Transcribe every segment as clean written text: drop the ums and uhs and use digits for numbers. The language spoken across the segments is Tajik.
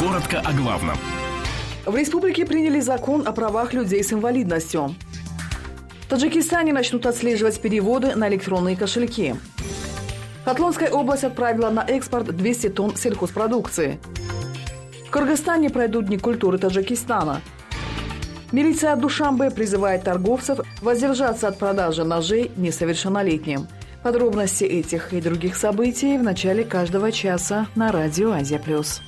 Коротко о главном. В республике приняли закон о правах людей с инвалидностью. В Таджикистане начнут отслеживать переводы на электронные кошельки. Хатлонская область отправила на экспорт 200 тонн сельхозпродукции. В Кыргызстане пройдут Дни культуры Таджикистана. Милиция Душанбе призывает торговцев воздержаться от продажи ножей несовершеннолетним. Подробности этих и других событий в начале каждого часа на радио «Азия Плюс».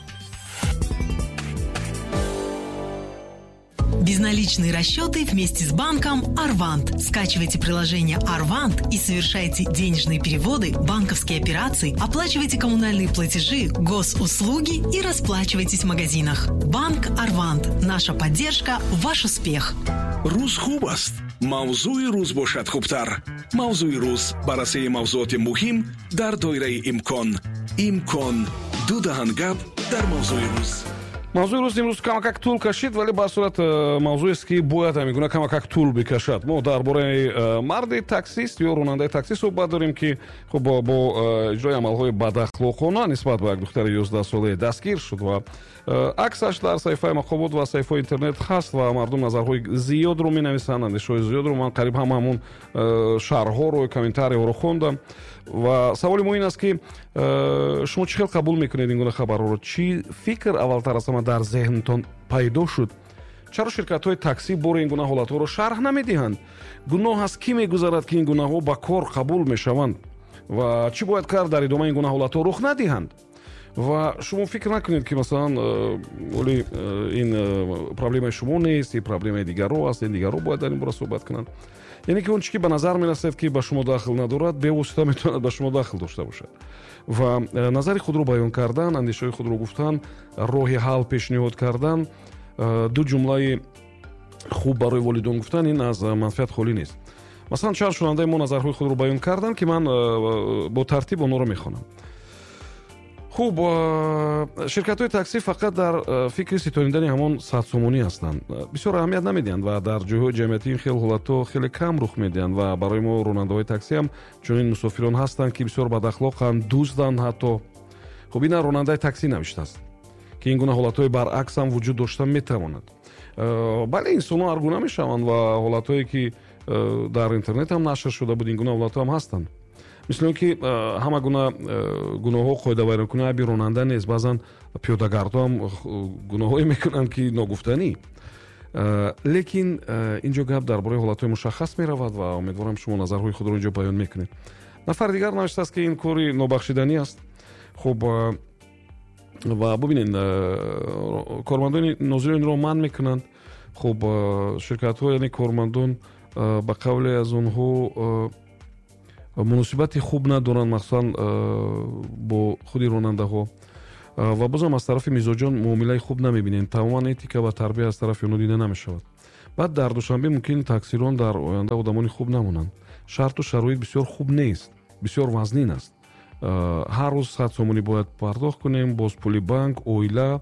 Безналичные расчеты вместе с банком «Арвант». Скачивайте приложение «Арвант» и совершайте денежные переводы, банковские операции, оплачивайте коммунальные платежи, госуслуги и расплачивайтесь в магазинах. Банк «Арвант». Наша поддержка – ваш успех. Рӯз хуб аст, мавзӯи рӯз бошад хубтар. Мавзӯи рӯз: баррасии мавзӯоти муҳим дар доираи имкон. Имкон: ду даҳан гап дар мавзӯи рӯз. Мавзӯи рӯз имрӯз камакак тӯл кашид, вале ба сурат мавзӯест, ки бояд ҳамин гуна камакак тӯл бикашад. Мо дар бораи марди таксист ё ронандаи таксӣ суҳбат дорем, ки хуб бо иҷрои амалҳои бадахлоқона нисбат ба як духтари 11-солае дастгир шуд ва аксаш дар саҳифаи мақомот ва саҳифаҳои интернет ҳаст ва мардум назарҳои зиёдро менависанд, андешаҳои зиёдро. Ман қариб ҳама ҳамун шарҳҳоро, комментариҳоро хондам ва саволи мо ин аст, ки шумо чӣ хел қабул мекунед ин гуна хабарҳоро? Чӣ фикр аввалтар аз ҳама дар зеҳнтон пайдо шуд? Чаро ширкатҳои таксӣ бори ин гуна ҳолатҳоро шарҳ намедиҳанд? Гуноҳ аз кӣ мегузарад, ки ин гунаҳо ба кор қабул мешаванд? Ва чӣ бояд кард, дар идома ин гуна ҳолатҳо рух надиҳанд? Ва шумо фикр накунед, ки масалан оли ин проблемаи шумо нест, ин проблемаи дигарро аст, ин дигарро бояд дар ин бора суҳбат кунанд. Яъне ки он чӣ ки ба назар мерасад, ки ба шумо дахл надорад, бевосита метавонад ба шумо дахл дошта бошад. Ва назари худро баён кардан, андешаҳои худро гуфтан, роҳи ҳал пешниҳод кардан, ду ҷумлаи хуб барои волидон гуфтан, ин аз манфиат холӣ нест. Масалан, чанд шунавандаи мо назарҳои худро баён карданд, ки ман бо тартиб онҳоро мехонам. Хуб, ширкатҳои таксӣ фақат дар фикри ситонидани ҳамон 100 сомонӣ ҳастанд, бисёр аҳамият намедиҳанд ва дар ҷойҳои ҷамъиятӣ ин хел ҳолатҳо хеле кам рух медиҳанд. Ва барои мо ронандаҳои таксӣ ҳам чунин мусофирон ҳастанд, ки бисёр бадахлоқанд, дузданд ҳатто. Хуб, ина ронандаи таксӣ навиштааст, ки ин гуна ҳолатҳои баръакс ҳам вуҷуд дошта метавонад. Бале, инсонҳо ҳаргуна мешаванд ва ҳолатҳое ки дар интернет ҳам нашр шуда буд, ин гуна ҳолатҳо ҳам ҳастанд. Мисли он ки ҳама гуна гуноҳҳо, қоидавайронкунӣ айби ронанда нест, баъзан пиёдагардҳо ҳам гуноҳҳое мекунанд, ки ногуфтанӣ. Лекин ин ҷо гап дар бораи ҳолатҳои мушаххас меравад ва умедворам, шумо назарҳои худро ин ҷо баён мекунед. Нафари дигар навиштааст, ки ин кори нобахшиданӣ аст. Хуб, ва бубинед, кормандони нозиро инро манъ мекунанд. Хуб, ширкатҳо, яъне кормандон, ба қавле аз онҳо муносибати хуб надоранд, махсусан бо худи ронандаҳо, ва бозам аз тарафи мизоҷон муомилаи хуб намебинем. Тамоман этика ва тарбия аз тарафи онҳо дида намешавад. Баъд дар Душанбе мумкин таксирон дар оянда одамони хуб намонанд. Шарту шароит бисёр хуб нест, бисёр вазнин аст. Ҳар рӯз 100 сомонӣ бояд пардохт кунем, боз пули банк, оила.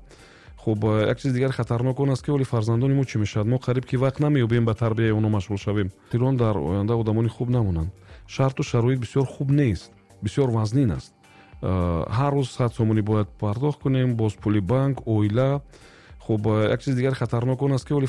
Хуб, як чизи дигар хатарнок он аст, ки оли фарзандони мо чӣ мешавад? Мо қариб ки вақт намеёбем ба тарбияи онҳо машғул шавем. Тирон дар оянда одамони хуб намонанд. Шарту шароит бисёр хуб нест, бисёр вазнин аст. Ҳар рӯз 100 сомонӣ бояд пардохт кунем, боз пули банк, оила. Хуб, як чизи дигар хатарнок он аст, ки оли